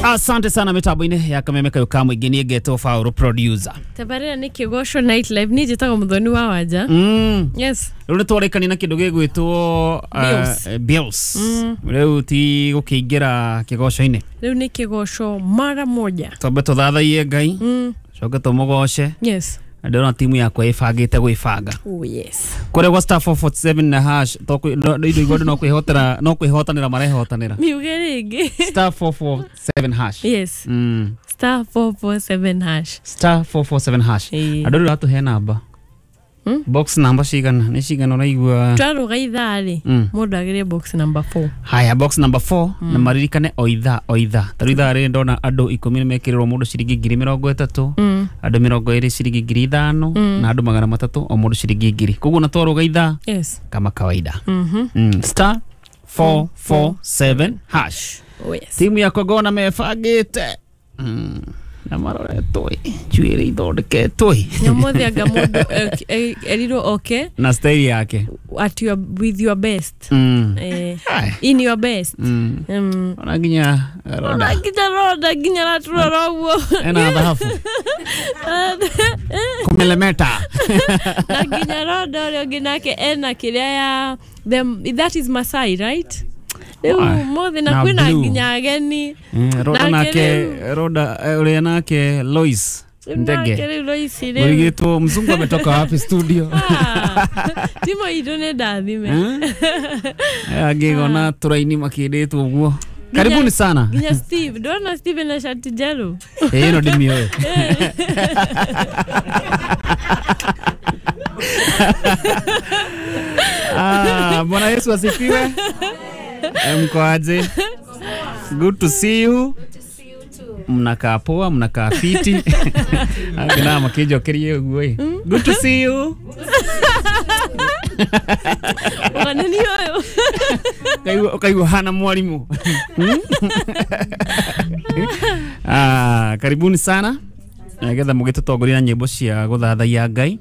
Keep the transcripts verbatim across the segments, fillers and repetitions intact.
Asante sana mitambo-inĩ ya Kameme kayo ka mũingĩ niĩ ngetwo Paul producer. Tabarĩra nĩ Kĩgoco Night Live niĩ njĩtagwo Muthoni wa Wanja. Mm. Yes. Rĩu nĩ twarĩkania na kĩndũ gĩgwĩtwo Bills. uh, bills. Mm. Rĩu ti gũkĩingĩra kĩgoco-inĩ. Rĩu nĩ kĩgoco mara moja. Twambe tũthathaiye Ngai. Mm. Coke tũmũgoce. Yes. Na ndĩrona timu yakwa ĩbangĩte gwĩbanga. Oh yes. Kũrĩa gwa star four four seven na hash tondũ andũ no kwĩhotera no kwĩhotanĩra marehotanĩra. Miuge rĩngĩ. Star four four seven hash. Yes. Mm. Star four four seven hash. Star four four seven hash. Ĩĩ. Andũ rĩu ratũhe namba. Mm? Box namba cigana nĩ cigana ũraigua? Twarũga ithaa rĩ Mm. mũndũ agĩre box number four. Haya, box number four na maririkane o ithaa o ithaa. Ta rĩu ithaa rĩrĩ ndona andũ ikũmi nĩ mekĩrĩrwo mũndũ ciringi ngiri mĩrongo ĩtatũ, Mm. andũ mĩrongo ĩrĩ ciringi ngiri ithano, na andũ magana matatũ o mũndũ ciringi ngiri. Koguo na twarũga ithaa Yes. kama kawaida. Mhm. Mm. Star four four seven hash. Oh yes. Timu yakwa ngona mebangĩte. Mm. Na maroretwo ĩ, njuĩrĩ ithondeketwo ĩ. Nyamũthĩ anga mũndũ eh, eh, erirwo oke Na style yake. at your with your best. Mm. Eh, Ai. in your best. Mm. Mm. Ona nginya Ona roda. nginya roda nginya raturora ũguo. Ena thahabu. Kumelemeta. Na nginya roda ũrĩa ũngĩ nake ena kĩrĩa ya them, that is Masai, right? Rĩu Ai, mũthĩ na na kwĩna blue. nginya ageni. Mm, roda Nake nake rĩu- roda eh, ũrĩa nake Lois Rĩu nake Ndege. rĩu Lois rĩu. Mũrigĩtwo mzungu ametoka wapi studio? Ah, timo itũ nĩ ndathime. Eh? Angĩgona tũraini makĩndĩtwo ũguo. Karibuni sana. Nginya Steve, ndona Steve na shati njerũ. Ĩĩ ĩno ndĩmĩũĩ. Ah, Bwana Yesu asifiwe. Eh, Mko aje? Good to see you. Good to see you too. Mnakaa poa, mnakaa fiti. Angĩ makĩnjokeria ũguo ĩ. Good to see you. Ũgana nĩ ũyũ. Ũkaigua ũkaigua hana mwalimu. Hmm? Ah, karibuni sana. Nĩgetha mũgĩtũtongoria na nyĩmbo cia gũthathaiya Ngai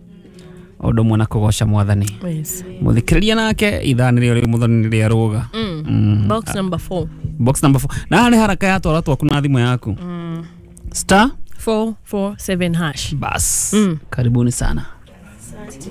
o ũndũ ũmwe na kũgoca mwathani. Yes. Mũthikĩrĩria nake ithaa nĩrĩo rĩu mũthoni nĩrĩa rũga. Mm. Mm. Box number four. Box number four. Na haha nĩ haraka ya twara twaku na thimũ yaku. Mm. Star four four seven hash. bas. Mm. Karibuni sana. Asante.